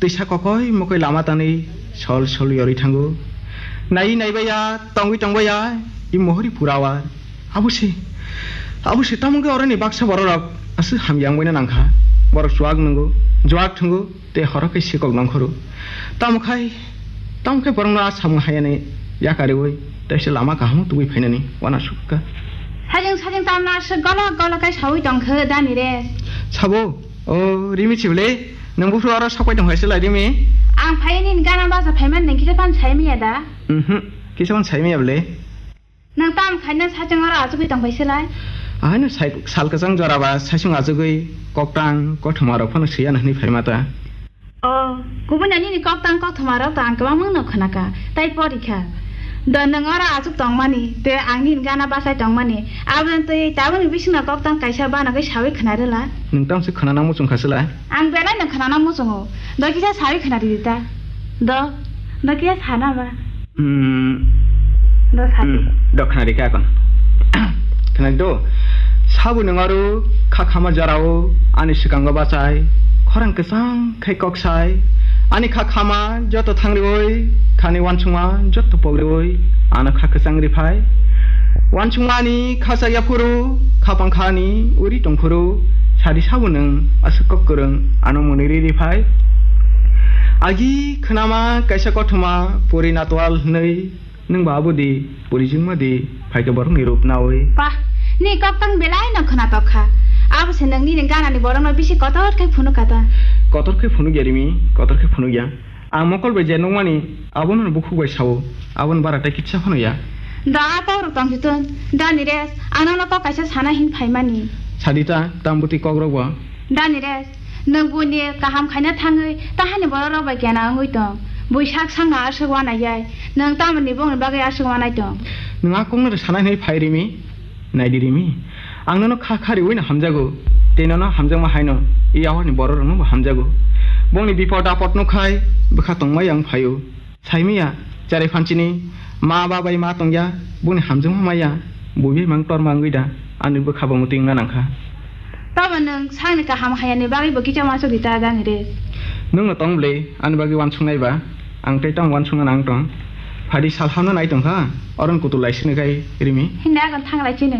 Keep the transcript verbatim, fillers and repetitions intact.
Twisa kokoi mokoi lama tanwi sol sol yorwi thango. Naiwi naibaiya, tongwi tongbaiya, i mohori purawa. Abo se, abo se tamo khe oroni baksa bororok aswk hamya wngbaina nangkha. Borok chuak nwngo, juak thwngo, tei horo khe sikok nongkhoro. Tamo khai, tamo khe borokno a samung hayani yakariwi, teisa lama kahamo tubui phainani wana sukha. Sajeng sajeng tamno aswk golok golok khe sawi tongkhe dani re. Sabo, o Rimi chibole, nwng buphuru oro sokpai tong hai se lai Rimi. Ang phai nini gana bacha phaiman nini kisa phan sai miya da? Mhm, kisa phan sai miya bole. Nang tam khaina sachang oro achugwi tong bai se lai? Ahaino sai-, sal kwchang jora ba saisung achugwi koktang kothoma rok phano swiya na hwnwi phaima ta. O, kubun ani ni koktang kothoma rok to ang kwbangma no khwnaka, tai porikha. Do nwng oro achuk tongmani, te ang nini gana bachai tongmani, aboni twi tabukni bisingno koktang kaisa banagwi sawi khwnarwla. Nwng tamse khwnana muchung kha se lai? Ang belai no khwnana muchungo. Do kisa sawi khwnari di ta. Do, do kisa sana ba. Hmm. Do sadi. Hmm. Do khwnari kha kon. Khwnari do. Sabo nwng aro kha khama jorao ani swkango bachai. Khorang kwchang khai kok sai. Ani kha khama joto thangriwi, khani wansukma joto pogriwi, ano kha kwchang riphai. Wansukmani kha chaya phuru, khapang khani uri tongphuru, sadi sabo nwng aswk kok kwrwng ano mwnwi ri riphai. Agi khwnama kaisa kothoma puri natwal hwnwi, nwng ba abo di, puri jingma di, phaikhe borokni rup nawi. Pah, ni koktang belai no khwnatok kha. Abo se nwng nini ganani borokno bisi kotor khe phunuk kha ta. Kotor khe phunuk ya Rimi, kotor khe phunuk ya. Ang mokol bai je nukmani, abono bukhuk bai sao, aboni bara tei kitsa phano ya. Da a kok rok tong si tun, da ni res, ano no kok kaisa sana hin phaimani. Sadi ta, tam bwtwi kok rok bo. Da ni res, nwng buini kaham khaina thangwi, tahani borok rok bai kena wngwi tong. Bui sak sangno aswk wanai yai, nwng tamoni bongni bagwi aswk wanai tong. Nwng a kokno rw sana hinwi phai Rimi? Naidi Rimi, ang nono kha kha riwi no hamjago, tei nono hamjakma hai no i yawarni borok rok no bo hamjago. Bongni bipot apot nuk khai bwkha tongmai ang phaio. Saimaya, cherai phanchini, ma ba bai ma tongya, boni hamjakma maya, buibai mang torma wngwi da, ani bwkha bo mwtwi wngna nangkha. Tamo nwng sakni kaham hayani bagwi bo kisa uansuk di ta dani re. Nwng no tong bwle, ani bagwi uansuknai ba, ang tei tamo uansukna nang tong. Phadi sal hamno nai tongkha, oron kutul lai sini kai Rimi. Hinda agon thang lai chini.